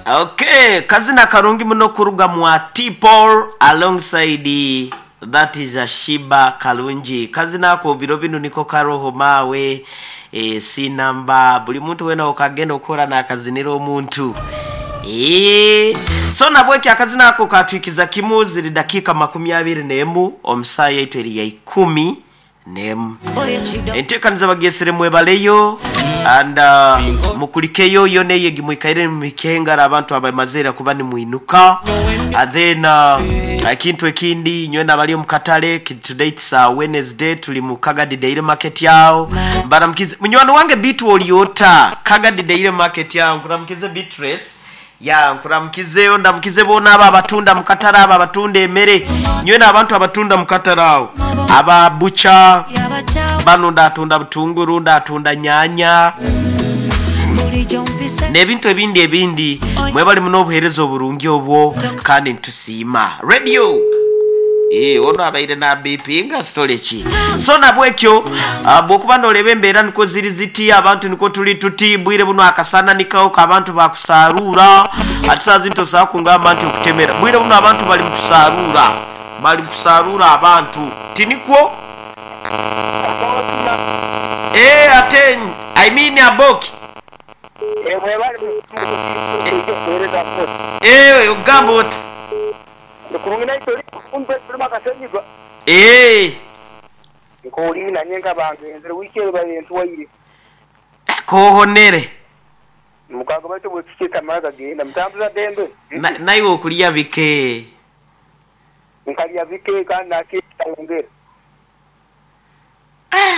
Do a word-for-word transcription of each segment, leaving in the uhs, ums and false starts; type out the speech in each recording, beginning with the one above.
Okay, kazina karungi muno kuruga mwa T Paul alongside that is a Shiba Kalungi. Kazina ako biro binu niko karoho mawe e, sinamba buli muntu wena okagenda okora nakazinira omuntu. E, so nabweki akazina ako katwikiza kimu ziri dakika makumi abiri n'emu omusaaya yaitu eri ya ikumi n'emu. Enteekaniza bagesere mwebaleyo and uh, mukulikeyo yo neye gimwikaire mukengara abantu abamazera kuba ni mwinuka and then uh, ekintu ekindi nywe nabali omukatale today it's uh, Wednesday tuli mu Kagadi Daily Market yao mbaramukize munywani wange bitu oliota Kagadi Daily Market yao nkuramukize Beatrice ya nkuramukizeyo ndamukize bona aba abatunda mukatale aba abatunda emere nywe n'abantu abatunda mukatale awo aba bucha bano ndatunda butunguru ndatunda nyanya n'ebintu ebindi ebindi mwebali muno obuheereza oburungi obwo kandi ntusiima radio. Eh, ono abaire na B P nga storage. So nabwekyo uh, bwokuba noleba embeera niko ziri ziti abantu niko tuli tuti bwire buno akasana nikawo abantu bakusarura atisazi ntosa kungamba nti okutemera bwire buno abantu bali mukusarura bali kusarura abantu tinikwo eh aten I mean aboki eh bali eh ugamba ota eh nkolina nyenga bange nzire wikere bayentu waire kohonere mukago bato bwekikita maga genda mutambuza dembe naiwe okulya bike nkalya bike kandi nakitayongera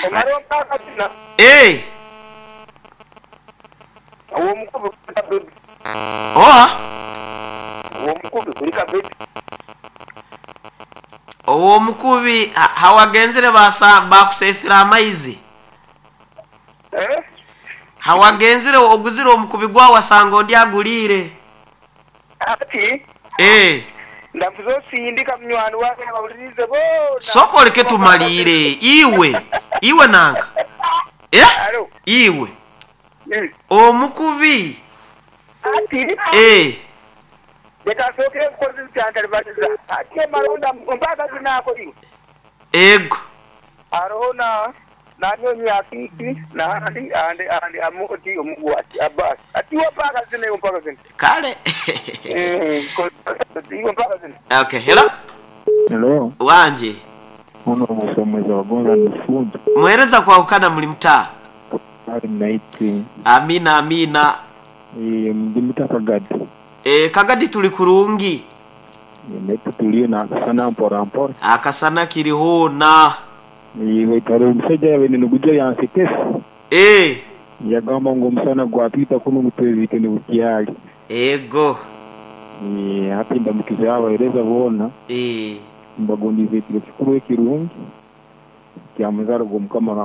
omaro mpaka tina eh uwo mukubi kulika bebi oa uwo mukubi kulika bebi uwo mukubi hawagenzere basa bakusesera amaizi eh hawagenzere oguzire omukubi gwa wasanga ondi agulire ati eh ndafuzo sindika mnywani wake abawulirize bo soko leke tumalire iwe iwe nanka eh iwe mm. Omukubi ati eh leka soke nkozi cyantari batiza ati maronda mpaka zinako iwe ego arona nanyonyi akiki na andi andi andi amoti omugwati abas ati mpaka zine mpaka zine kale eh ko mpaka zine okay hello hello wanje uno musomeza wagonza nifundi muhereza kwa ukana muli mtaa ali naiti amina amina e mdimita Kagadi e Kagadi tuli kurungi netu tuliyo na akasana mpora mpora akasana kiriho na iwe tare omusajja yabe niguja yansekesa eh yagamba ngo omusana gwatwita kuno mutwezike ni bukyali ego e hati ndamukiza abahereza bona eh mbagondize ekiro kikuru ekirungi kyamuzaro gw'omukama.